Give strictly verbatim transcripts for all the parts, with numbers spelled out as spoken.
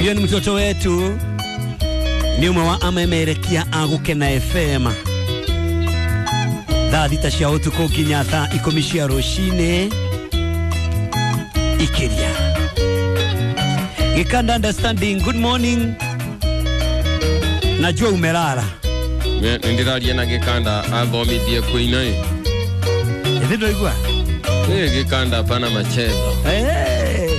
Huyo ni mtoto wetu, ni umwe wa amemerekia a Gukena F M. Thaa thita cia utuku nginya thaa ikumi cia rucini ikiria. Gikanda understanding, good morning. Najua umelala. Ndiraria na Gikanda athomithie kuina. Ĩthĩ ndwaigua? Ĩ Gikanda pana machezo. Eh.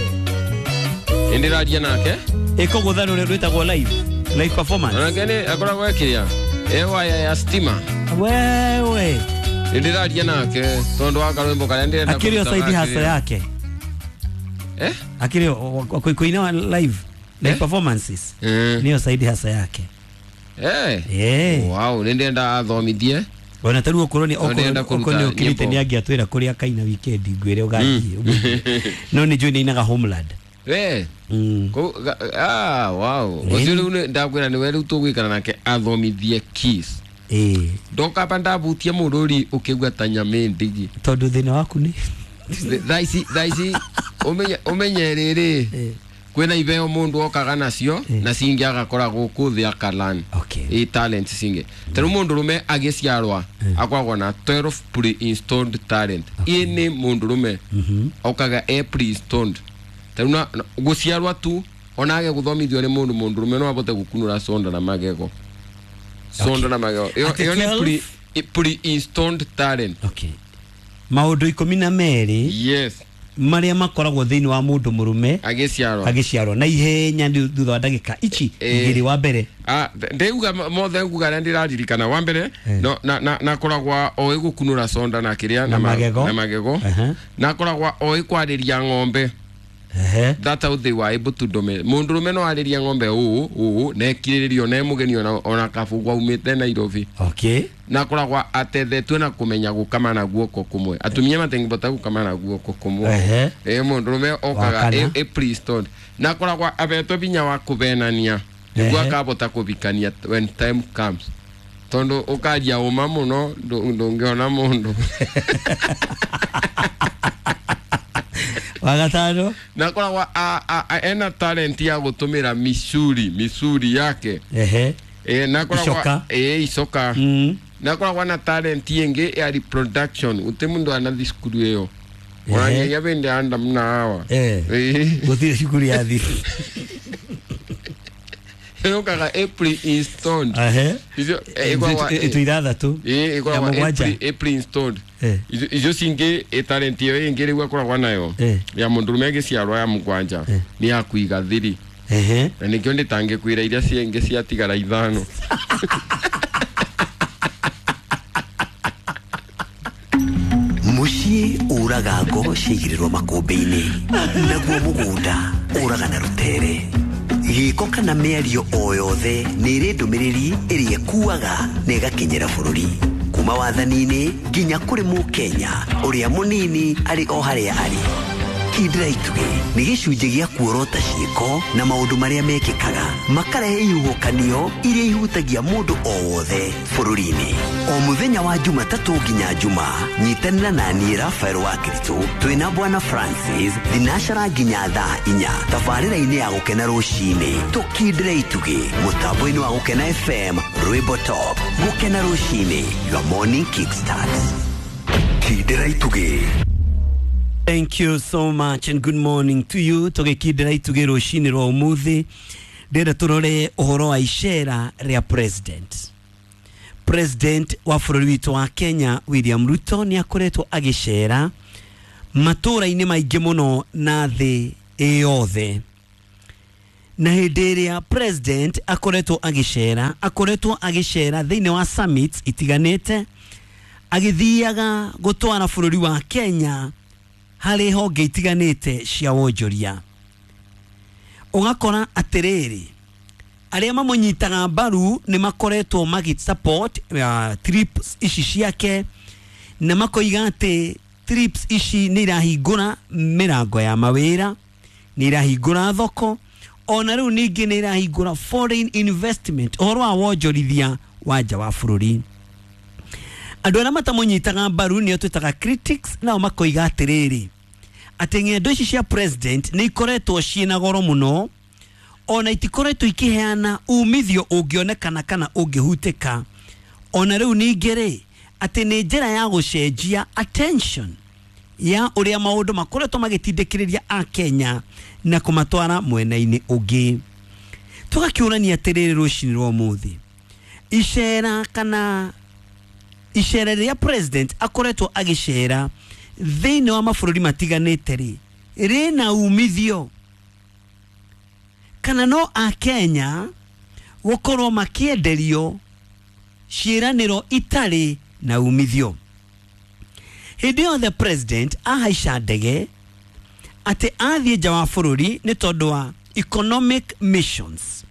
Ndiraria nake? Ĩkũgũtha rũrĩa rwĩtagwo live, live performance. Onake nĩ akoragwo ekĩria ĩ waya ya stima. Wewe. Ndiraria nake tondu wa karwimbo karia ndirenda. Akĩrĩ o side hustle yake. Eh? Akĩrĩ kuina live, live eh? Performances. Eh. Niyo side hustle yake. Eh. Eh. Wow, nindenda athomithie. Ona taru okorwo ni okorwo ni okirite ni angiatwira kuria kaina weekend ngwire ugathie. No ni njui ni inaga homeland. Eh. Mm. Ko ah wow. Ucio riu ndakwira ni we riu tugwikara nake athomithie kiss. Eh. Ndoka pa ndabutie mururi ukigwa ta nyame ndigi. Tondu thina waku ni thaa ici thaa ici umenye umenye riri. Kwina ibeo mundu okaga nacio na cingi agakora guku thi akalan. Okay. I talent cingi taru mundu rume agiciarwa akoragwo na twelve pre-installed talent. I ni mundu rume okaga e pre-installed taru na guciarwa tu onage guthomithio ni mundu mundu rume no abote gukunura sonda na magego. Sonda na magego iyo ni pre-installed talent. Okay. Maundu ikumi na meri. Yes. Maria makoragwo thiini wa mundu murume agiciarwo agiciarwo na ihenya thutha wa ndagika ici igiri wa mbere. Ah, ndeuga mothe nguga na ndiraririkana wa mbere no na na nakoragwa oĩ gukunura sonda na kiria na magego na magego nakoragwa oĩ kwariria ng'ombe. Ehe. That's how they were able to dominate. Mundu rume no ariria ng'ombe uu uu na ekirĩrĩrio na mũgeni ona ona kabugwa umĩte Nairobi. Okay. Na koragwa atethetwe na kumenya gukama na guoko kumwe. Atumia matengibota gukama na guoko kumwe. Ehe. Eh mundu rume okaga e, e pre-stone. Na koragwa abetwe binya wa kubenania. Niguo akabota kubikania when time comes. Tondu ukaria uma muno ndungiona mundu. Wagatano na koragwa a, a, a ena talent ya gutumira misuri misuri yake. Ehe. Eh na koragwa eh icoka. Mm. Na koragwa na talent yenge ya reproduction ute mundu anathi cukuru iyo. Orangeria bende anda mna hawa. Eh. Guthire cukuru ya thi. Yokaga April installed. Ehe. Icio ikoragwa itu ithathatu. Eh ikoragwa April installed. Icio cingi e talent iyo ingi riu akoragwa nayo ya mundu rume agiciarwa ya mugwanja ni ya kuiga thiri. Ehe. Na nikio nditangikwira iria ciingi ciatigara ithano. Muciĩ ũraga ngo ciigĩrĩrwo makũmbĩ-inĩ naguo mũgũnda ũraga na rũtere. Gĩko kana mĩario o yothe nĩ ĩrĩ ndũmĩrĩri ĩrĩa ĩkuaga na ĩgakinyĩra bũrũri kuma wathani-inĩ nginya kũrĩ mũkenya ũrĩa mũnini arĩ o harĩa arĩ. Kindĩra itugĩ nĩ gĩcunjĩ gĩa kuorota ciĩko na maũndũ marĩa mekĩkaga makarehe ihuhũkanio iria ihutagia mũndũ o wothe bũrũri-inĩ. O mũthenya wa Jumatatũ nginya Juma nyitanĩra na niĩ Rafael wa Kristo twĩna Bwana Francis thinacara nginya thaa inya tabarĩra-inĩ ya Gũkena rũcinĩ tũkindĩre itugĩ mũtambo-inĩ wa Gũkena F M Rwĩmbo Top. Gũkena rũcinĩ, your morning kickstart. Kindĩra itugĩ. Thank you so much and good morning to you. Tugikindira itugĩ rũcinĩ rwa ũmũthĩ ndĩrenda tũrore ũhoro wa icera rĩa president. President wa bũrũri witũ wa Kenya William Ruto nĩ akoretwo agĩcera matũra-inĩ maingĩ mũno na thĩ ĩyothe. Na hĩndĩ ĩrĩa president akoretwo agĩcera akoretwo agĩcera thĩinĩ wa summits itiganĩte agĩthiaga gũtwara bũrũri wa Kenya harĩ honge itiganĩte cia wonjoria. Ũgakora atĩrĩrĩ arĩa mamũnyitaga mbaru nĩ makoretwo magĩ support uh, trips ici ciake na makoiga atĩ trips ici nĩ irahingũra mĩrango ya mawĩra, nĩ irahingũra thoko, ona rĩu ningĩ nĩ irahingũra foreign investment, ũhoro wa wonjorithia wa nja wa bũrũri. Andũ arĩa matamũnyitaga mbaru nĩo twĩtaga critics, nao makoiga atĩrĩrĩ atĩ ng'endo ici cia president nĩ ikoretwo ciĩna goro mũno, Ona itikoretwo ikiheana umithio ũngĩonekana kana ũngĩhutĩka. Ona rĩu ningĩ rĩ, atĩ nĩ njĩra ya gũcenjia attention ya ũrĩa maũndũ makoretwo magĩtindĩkĩrĩria Akenya na kũmatwara mwena-inĩ ũngĩ. Tũgakĩũrania atĩrĩrĩ rũcinĩ rwa ũmũthĩ, icera kana icera rĩrĩa president akoretwo agĩcera thĩinĩ wa mabũrũri matiganĩte rĩ, rĩna umithio kana no Akenya gũkorwo makĩenderio ciĩranĩro itarĩ na umithio? Hĩndĩ yothe president ahaica ndege atĩ athiĩ nja wa bũrũri nĩ tondũ wa economic missions,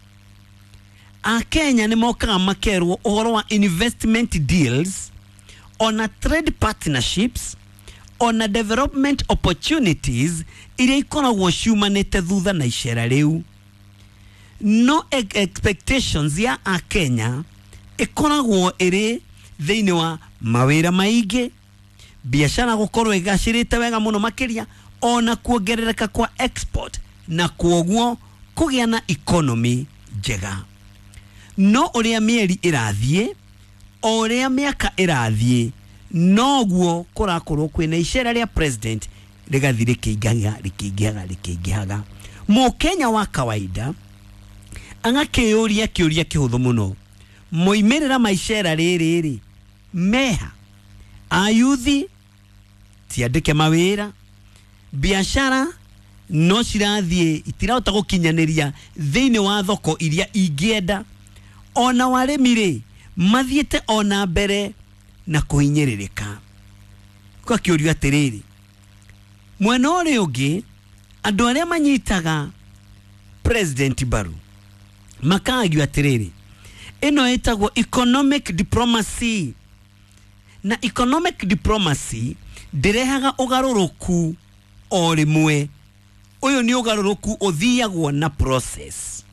Akenya nĩ mokaga makerwo ũhoro wa investment deals, ona trade partnerships, ona development opportunities iria ikoragwo ciumanĩte thutha na icera rĩu. No expectations ya Akenya ĩkoragwo ĩrĩ thĩinĩ wa mawĩra maingĩ, biashara gũkorwo ĩgacĩrĩte wega mũno makĩria, ona kuongerereka kwa export na kwoguo kũgĩa na economy njega. No ũrĩa mĩeri ĩrathiĩ, o ũrĩa mĩaka ĩrathiĩ, noguo kũrakorwo kwĩna icera rĩa president rĩgathiĩ rĩkĩingĩhaga rĩkĩingĩhaga rĩkĩingĩhaga. Mũkenya wa kawaida agakĩyũria kĩũria kĩhũthũ mũno, moimĩrĩra ma icera rĩrĩ rĩ meha? Ayuthi tiandĩke mawĩra, biashara no cirathiĩ itirahota gũkinyanĩria thĩinĩ wa thoko iria ingĩenda, ona warĩmi rĩ mathiĩte ona mbere na kũhinyĩrĩrĩka. Gũgakĩũrio atĩrĩrĩ, mwena ũrĩa ũngĩ andũ arĩa manyitaga president mbaru makagio atĩrĩrĩ, ĩno ĩtagwo economic diplomacy, na economic diplomacy ndĩrehaga ũgarũrũku o rĩmwe. Ũyũ nĩ ũgarũrũku ũthiagwo na process.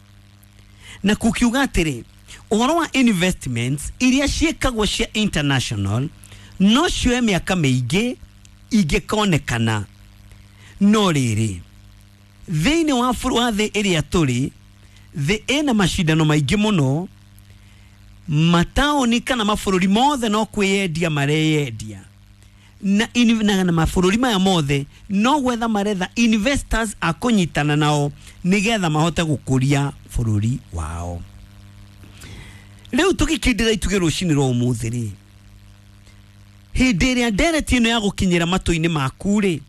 Na kukiuga atĩrĩ, ũhoro wa investments iria ciĩkagwo cia international no cioe mĩaka mĩingĩ ingĩkonekana. No rĩrĩ, thĩinĩ wa wa thĩ ĩrĩa tũrĩ, thĩ ĩna macindano maingĩ mũno, mataũni kana mabũrũri mothe no kwĩyendia mareyendia, na, na, na mabũrũri maya mothe no gwetha maretha investors a kũnyitana nao nĩgetha mahote gũkũria bũrũri wao. Rĩu tũgĩkindĩra itugĩ rũcinĩ rwa ũmũthĩ rĩ, hĩndĩ ĩrĩa ndereti ĩno ya gũkinyĩra matũ-inĩ maku rĩ,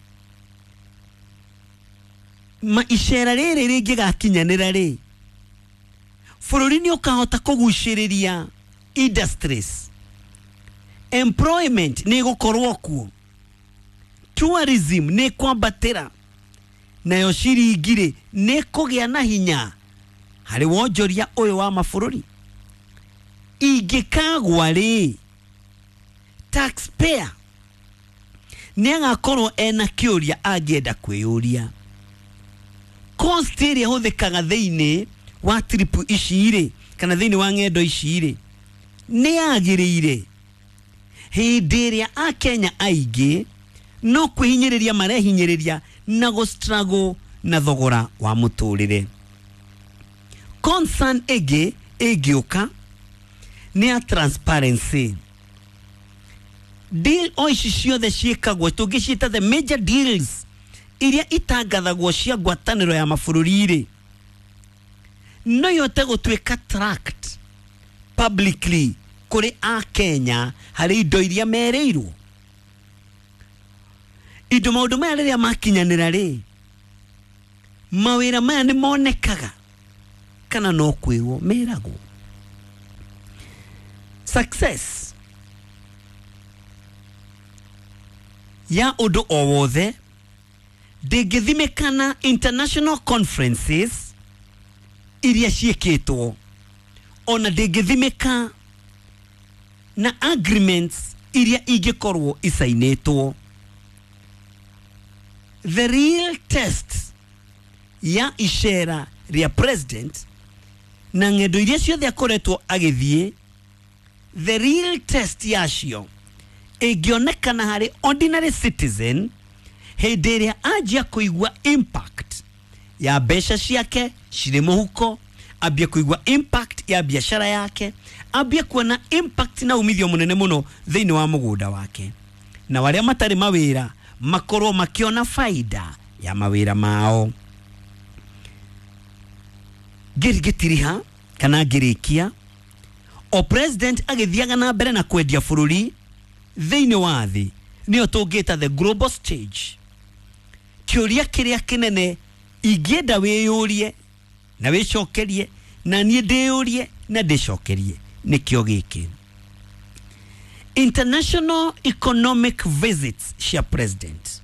ma icera rĩrĩ rĩngĩgakinyanĩra rĩ, bũrũri nĩ ũkahota kũgucĩrĩria industries, employment nĩ ĩgũkorwo kuo, tourism nĩ ĩkwambatĩra, nayo ciringi rĩ nĩ ĩkũgĩa na hinya harĩ wonjoria ũyũ wa mabũrũri. Ingĩkagwa rĩ, taxpayer nĩ agakorwo ena kĩũria angĩenda kwĩyũria, cost ĩrĩa ĩhũthĩkaga thĩinĩ wa trip ici rĩ, kana thĩinĩ wa ng'endo ici rĩ, nĩ yagĩrĩire hĩndĩ ĩrĩa Akenya aingĩ no kwĩhinyĩrĩria marehinyĩrĩria na gũ struggle na thogora wa mũtũrĩre. Concern ĩngĩ ĩngĩũka nĩ ya transparency. Deal o ici ciothe ciĩkagwo tũngĩciĩta the major deals iria itangathagwo cia ngwatanĩro ya mabũrũri rĩ, no ihote gũtuĩka tracked publicly kũrĩ Akenya harĩ indo iria merĩirwo. Indo maũndũ maya rĩrĩa makinyanĩra rĩ, mawĩra maya nĩ monekaga kana no kwĩrwo meragwo? Success ya ũndũ o wothe ndĩngĩthimĩkana international conferences iria ciĩkĩtwo, ona ndĩngĩthimĩka na agreements iria ingĩkorwo icainĩtwo. The real test ya icera rĩa president na ng'endo iria ciothe akoretwo agĩthiĩ, the real test yacio ĩngĩonekana harĩ ordinary citizen hĩndĩ ĩrĩa anjia kũigua impact Ya mbeca ciake cirĩ mũhuko, ambie kũigua impact ya biashara yake, ambie kuona impact na umithio mũnene mũno thĩinĩ wa mũgũnda wake, na arĩa matarĩ mawĩra makorwo makiona faida ya mawĩra mao. Ngĩtiriha kana ngĩrĩkia, o president agĩthiaga na mbere na kwendia bũrũri thĩinĩ wa thĩ, nĩyo tũngĩta the global stage, kĩũria kĩrĩa kĩnene ingĩenda wĩyũrie na wĩcokerie na niĩ ndĩyũrie na ndĩcokerie nĩkĩo gĩkĩ: international economic visits cia president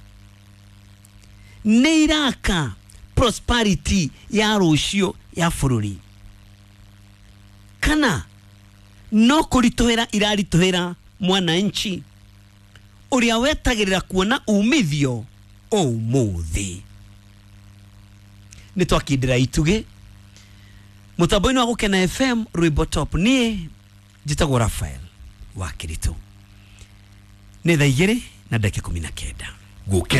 nĩ iraka prosperity ya rũciũ ya bũrũri, kana no kũritũhĩra iraritũhĩra mwananchi ũrĩa wetagĩrĩra kuona umithio ũmũthĩ? Nĩ twakindĩra itugĩ mũtambo-inĩ wa Gũkena F M, rwĩmbo top. Niĩ njĩtagwo Rafael wa Kĩritũ. Nĩ thaa igĩrĩ na ndagĩka ikũmi na kenda. Gũkena.